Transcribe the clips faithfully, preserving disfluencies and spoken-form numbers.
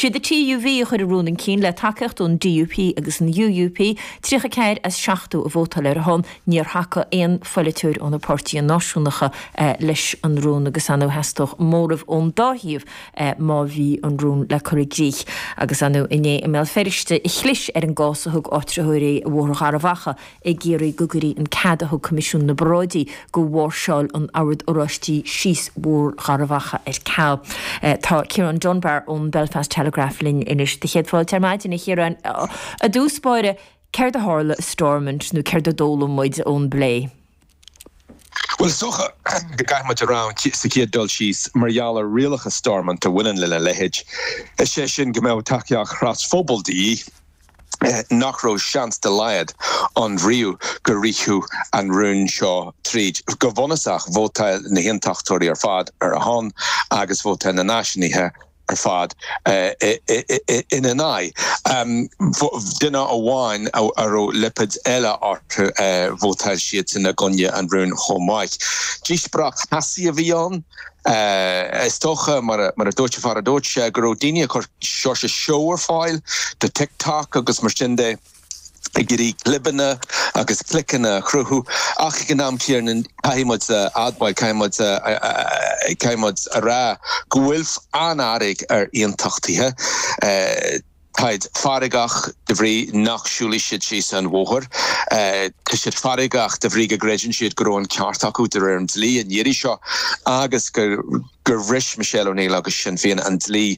Siad an T U V a chuir an rún chun cinn le tacaíocht ón D U P agus an U U P, tríocha ceathair as seachtó a vótáil ar a shon. Níor thacaigh aon pholaiteoir ó na páirtithe náisiúnacha leis an rún agus ar ndóigh theastódh móramh ón dá thaobh má bhí an rún le cur i gcrích. Agus ar ndóigh inné i mBéal Feirste chlis ar an gcás a thug áitritheoirí Bhóthar Gharbhachaidh ag iarraidh go gcuirfí an cead a thug Coimisiún na bParáidí do mháirseáil an Oird Oráistigh síos Bhóthar Gharbhachaidh ar ceal. Tá Ciarán Dunbar ón Belfast Telegraph linn anois. Do chéad fáilte ar maidin, a Chiaráin. I dtús báire, céard a tharla i Stormont nó céard a d'fhoghlaim muid ón bplé? Well, is dócha go gcaithfidh muid a rá sa chéad dul síos mar gheall ar rialacha Stormont a bhaineann lena leithéid, is sé sin go mbeadh tacaíocht trasphobail de dhíth, nach raibh seans dá laghad ann riamh go rithfeadh an rún seo tríd. Go bunúsach, vótáil na haontachtóirí ar fad ar a shon agus vótáil na náisiúnaithe ar fad ina n-aghaidh. Duine amháin a raibh lipéad eile orthu, vótáil siadsan i gcoinne an rúin chomh maith. Díospóireacht theasaí a bhí ann. Is dócha, mar a dúirt an fear a dúirt sé, go raibh daoine ag cur sórt seó ar fáil do TikTok agus mar sin de, ag iarraidh clibeanna agus cliceanna a chruthú, ach ag an am céanna caithfidh muid a admháil, caithfidh muid caithfidh muid a rá go bhfuil an-fhearg ar aontachtaithe. Táid feargach de bhrí nach siúlfaidh siad síos an bhóthar. Tá siad feargach de bhrí go gcreideann siad go raibh an ceart acu de réir an dlí an iarraidh seo agus gur gur bhris Michelle O'Neill agus Sinn Féin an dlí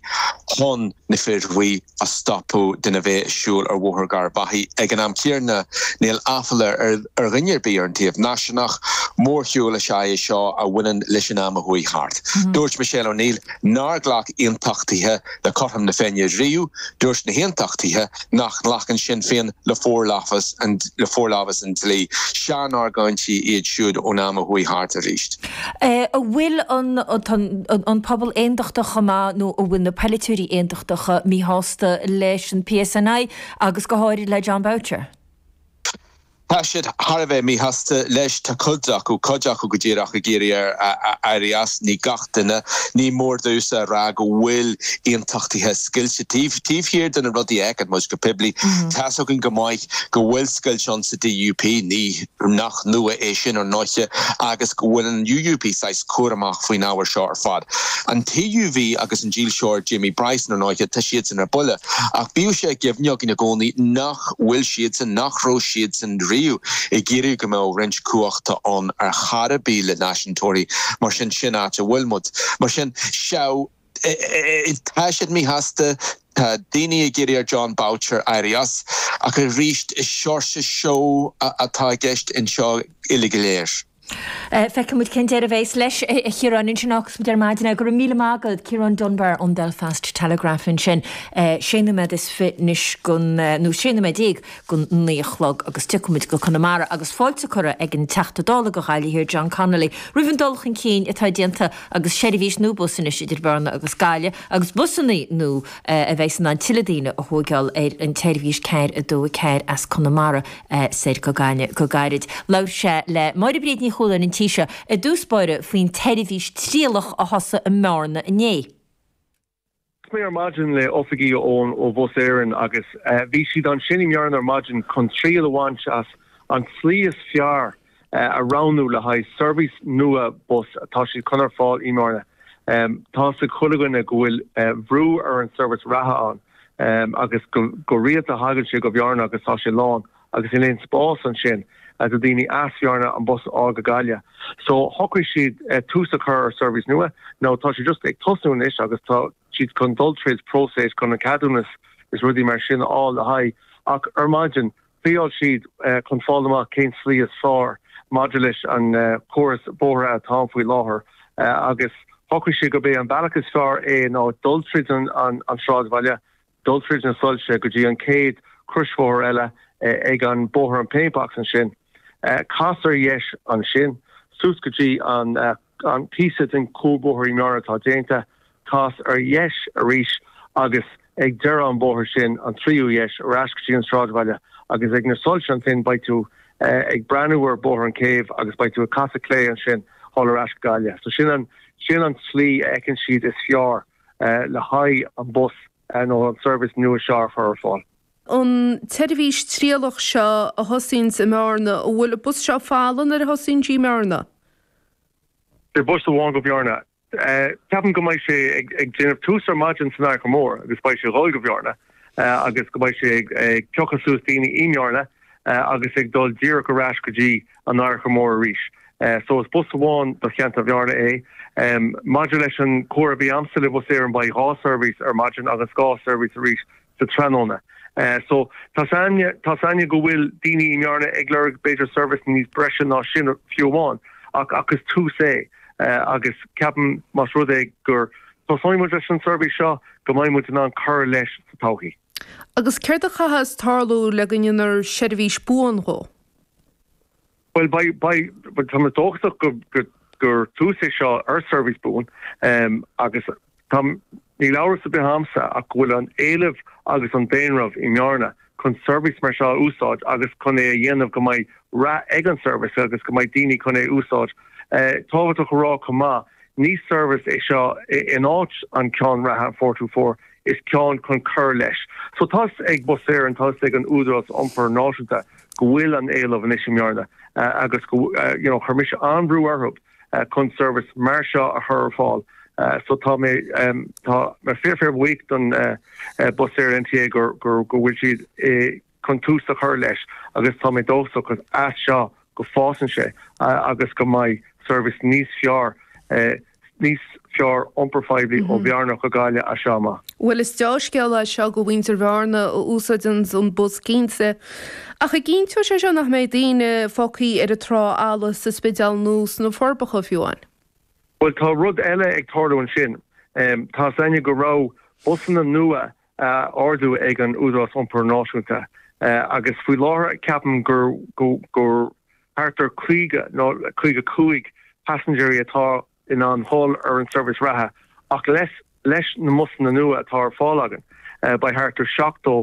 chun na fir bhuí a stopadh de bheith ag siúl ar Bhóthar Gharbhachaidh. Ag an am céanna, níl aiféala ar ar dhuine ar bith ar an taobh náisiúnach. Mórshiúl is ea é seo a bhaineann leis an am a chuaigh thart. Dúirt Michelle O'Neill nár ghlac aontachtaithe le cothrom na Féinne riamh. Dúirt na haontachtaithe nach nglacann Sinn Féin le forlámhas an le forlámhas an dlí. Seanargóintí iad siúd ón am a chuaigh thart arís. An bhfuil an an pobal aontachtach chomh maith nó an bhfuil na polaiteoirí aontachtacha míshásta leis an P S N I agus go háirid le Jon Boutcher? Tá siad thar a bheith míshásta leis. Tá cuid acu cuid acu go díreach ag iarraidh air éirí as. Ní gach duine. Ní mór domhsa a rá go bhfuil aontachtaithe scoilte taobh taobh thiar de na rudaí a fheiceann muid go poiblí. Tá a fhios againn go maith go bhfuil scoilt ann sa D U P, ní nach nua é sin ar ndóigh, agus go bhfuil an U U P saghas cúramach faoin ábhar seo ar fad. An T U V agus an dílseoir Jamie Bryson ar ndóigh, tá siadsan ar buile, ach bíodh sé i gcuimhne againn i gcónaí nach bhfuil siadsan nach raibh siadsan riamh ag iarraidh go mbeadh roinnt cumhachta ann ar chor ar bith le náisiúntóirí. Mar sin, sin áit a bhfuil muid. Mar sin seo, tá siad míshásta, tá daoine ag iarraidh ar Jon Boutcher éirí as, ach arís is sórt seó atá i gceist anseo uile go léir. Feicfidh muid cén deireadh a bheas leis, a Chiaráin, ansin agus muid ar maidin. Go raibh míle maith agat, Ciarán Dunbar ón Belfast Telegraph ansin. Sé nóiméad is fiche anois gon nó sé nóiméad déag gon naoi a chlog agus tiocfaidh muid go Conamara agus fáilte curtha ag an Teachta Dála do Ghaillimh Thiar John Connolly roimh an dul chun cinn atá déanta agus seirbhís nua bus anois idir Bearna agus Gaillimh agus busanna nua a bheidh in ann tuilleadh daoine a thógáil ar an tseirbhís ceathair a dó a ceathair as Conamara soir go Gaillimh go gairid. Labhair sé le Máire Bríd Ní Chualáin an tí seo i dtús báire faoin tseirbhís trialach a thosaigh i mBearna inné. Mé ar maidin le oifigigh ón ó Bhus Éireann agus bhí siad ansin i mBearna ar maidin chun triail a bhaint as an tslí is fearr a roghnú le haghaidh seirbhís nua bus atá siad chun ar fáil i mBearna. Tá a fhios ag chuile dhuine go bhfuil brú ar an seirbhís reatha ann agus go go rialta thagann sé go Bearna agus tá sé lán agus níl aon spás ansin do daoine as Bearna an bus a fháil go Gaillimh. So shocraigh siad tús a chur ar seirbhís nua, nó tá sé just ag tosú anois agus tá siad chun dul tríd próiseas chun an ceadúnas is rudaí mar sin a fháil le haghaidh, ach ar maidin thriail siad chun fáil amach cén slí is fearr maidir leis an córas bóithre atá faoi láthair, agus shocraigh siad gurb é an bealach is fearr é ná dul tríd an an an sráidbhaile, dul tríd na soilse go dtí an chéad crosbhóthar eile ag an bóthar an Paintbox ansin, cas ar dheis ansin suas go dtí an an píosa den chuarbhóthar i mBearna atá déanta, cas ar dheis arís agus ag deireadh an bóthar sin an tríú dheis ar ais go dtí an sráidbhaile agus ag na soilse ansin beidh tú ag breathnú ar Bhóthar an Chéibh agus beidh tú ag casadh clé ansin thall ar ais go Gaillimh. So sin an sin an tslí a fheiceann siad is fearr le haghaidh an bus. nó an seirbhís nua seo a chur ar fáil. An tseirbhís trialach seo a thosaíonns i mBearna, an bhfuil an bus seo folamh nuair a thosaíonn sí i mBearna? Beidh bus amháin go Bearna. Ceapaim go mbeidh sé ag déanamh tús ar maidin san Fhairche Mór agus beidh sé ag dul go Bearna agus go mbeidh sé ag piocadh suas daoine i mBearna agus ag dul díreach ar ais go dtí an Fhairche Mór arís. So is bus amháin do cheantar Bhearna é. Maidir leis an comhrá a bhí a'msa le Bus Éireann beidh dhá seirbhís ar maidin agus dhá seirbhís arís sa tráthnóna. So tá tá 's a'inne go bhfuil daoine i mBearna ag lorg b'fhéidir seirbhís níos breise ná sin fiú amháin ach ach is tús é agus ceapaim más rud é gur tosóidh muid leis an seirbhís seo go mbeidh muid in ann cur leis sa todhchaí. Agus céard a chaithfeas tarlú le go ndéanfar seirbhís buan dhó? Bhuel beidh beidh tá mé dóchasach go go gur tús é seo ar seirbhís buan agus tá níl amhras ar bith a'msa ach go bhfuil an éileamh agus an daonra i mBearna chun seirbhís mar seo a úsáid agus chun é a dhéanamh go mbeidh rath ag an seirbhís agus go mbeidh daoine chun é a úsáid. Tábhachtach a rá chomh maith, ní seirbhís é seo in áit an ceann reatha four two four, is ceann chun cur leis. So tá's ag Bus Éireann, tá's ag an Údarás Iompair Náisiúnta go bhfuil an éileamh anois i mBearna agus go you know chuir mise an-bhrú orthu chun seirbhís mar seo a chur ar fáil. So tá mé tá mé fíor fíor bhuíoch don Bus Éireann NTA gur gur go bhfuil siad chun tús a chur leis agus tá mé dóchasach as seo go bhfásann sé agus go mbeidh seirbhís níos fearr níos fearr iompar phoiblí ó Bhearna go Gaillimh as seo amach. Bhuel is dea-scéal é seo do mhuintir Bhearna a úsáideann an bus cinnte. Ach an gcinnteoidh sé seo nach mbeidh daoine fágtha ar an trá fhalla sa Spidéal nó sna Forbacha fiú amháin? Bhuel tá rud eile ag tarlú ansin. Tá 's a'inne go raibh busanna nua á ordú ag an Údarás Iompair Náisiúnta agus faoi láthair ceapaim gur gur thart ar caoga nó caoga cúig paisinéirí atá in ann dhul ar an seirbhís reatha ach leis leis na mbusanna nua atá ar fáil againn beidh thart ar seachtó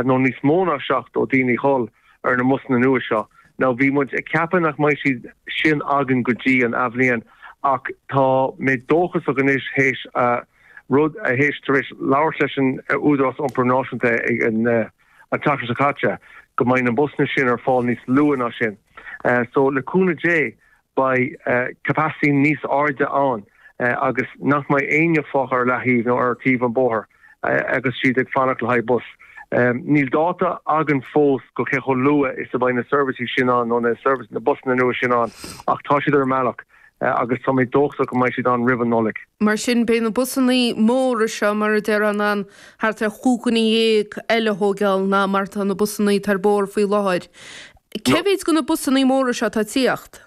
nó níos mó ná seachtó daoine dhul ar na mbusanna nua seo. Now bhí muid ag ceapadh nach mbeidh siad sin againn go dtí an athbhliain ach tá mé dóchasach anois théis rud a théis tar éis labhairt leis an Údarás Iompair Náisiúnta ag an an tseachtain seo caite go mbeidh na busanna sin ar fáil níos luaithe ná sin. So le cúnamh Dé beidh capacity níos airde ann agus nach mbeidh éinne fágtha ar leathaobh nó ar taobh an bóthair agus siad ag fanacht le haghaidh bus. Níl dáta againn fós go cé chomh luath is a bheidh na seirbhísí sin ann nó na service na busanna nua sin ann ach tá siad ar an mbealach agus tá mé dóchasach go mbeidh siad ann roimh an Nollaig. Mar sin beidh na busanna móra seo mar a déarfá in ann thart ar chúig dhuine dhéag eile a thógáil ná mar atá na busanna atá ar bóthar faoi láthair. Cé mhéid de na busanna móra seo atá ag tíocht?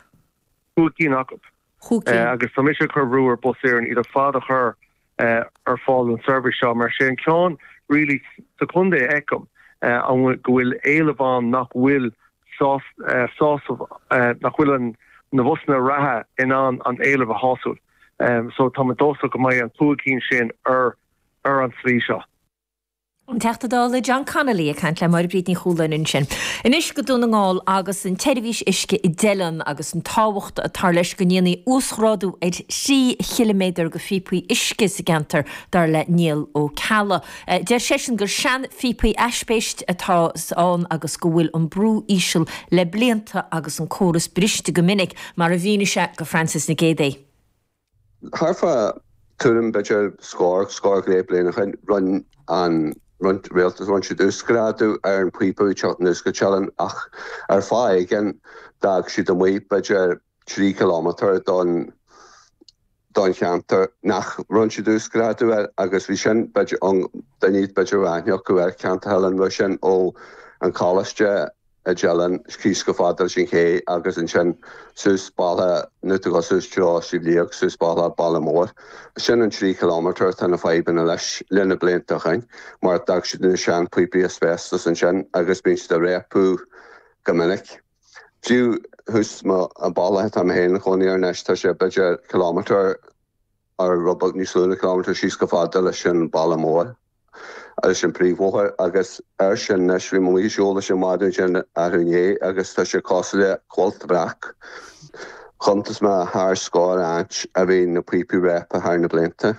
Cúig cinn acu. Cúig cinn. Agus tá mise ag cur brú ar Bus Éireann iad ar fad a chur ar fáil don seirbhís seo mar sé an ceann really sa chontae a fheicim go bhfuil éileamh ann nach bhfuil sásamh nach bhfuil an na busanna reatha in ann an éileamh a shású. So tá mé dóchasach go mbeidh an cúig cinn sin ar ar an tslí seo. An Teachta Dála John Connolly ag caint le Máire Bríd Ní Chualáin ansin. Anois go Dún na nGall agus an tseirbhís uisce i dTeileann agus an tábhacht atá leis go ndéanfaí uasghrádú ar thrí chiliméadar de phíopaí uisce sa gceantar, dar le Niall Ó Ceallaigh. Deir seisean gur seanphíopaí aispeist atá ann agus go bhfuil an brú íseal le blianta agus an córas briste go minic, mar a mhínigh sé go Frances Nic Géadaigh. Thart fá tuairim b'fhéidir scór, scór go leith bliain ó shin, rinne an rialtas, rinne siad uasghrádú ar an phíopa ag teacht anuas go Teileann ach ar fáth éigin d'fhág siad amuigh b'fhéidir trí chileámeter don don cheantar nach rinne siad uasghrádú air agus bhí sin b'fhéidir an duine b'fhéidir aithne acu ar cheantar Theileann, bhí sin ó an choláiste i dTeileann síos go fada leis an ché agus ansin suas bealach nó tú go suas treo Sliabh Liag suas bealach Baile Móir. Sin an trí chileámeter atá na fadhbanna leis le na blianta ó shin mar d'fhág siad na seanphíopaí asbestos ansin agus bíonn siad ag réabadh go minic. Fiú thuas an bealach atá mé féin i mo chónaí air anois tá sé b'fhéidir kilometer ar rud beag níos lú ná kilometer síos go fada leis an Baile Mór. leis an príomhbhóthar agus air sin anois bhí mé ag siúl leis an maidin sin arú inné agus tá sé cosúil le cuilt bhreac. Chuntas mé thar scór áit a bhí na píopaí réabtha thar na blianta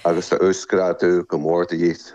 agus tá uasghrádú go mór de dhíth.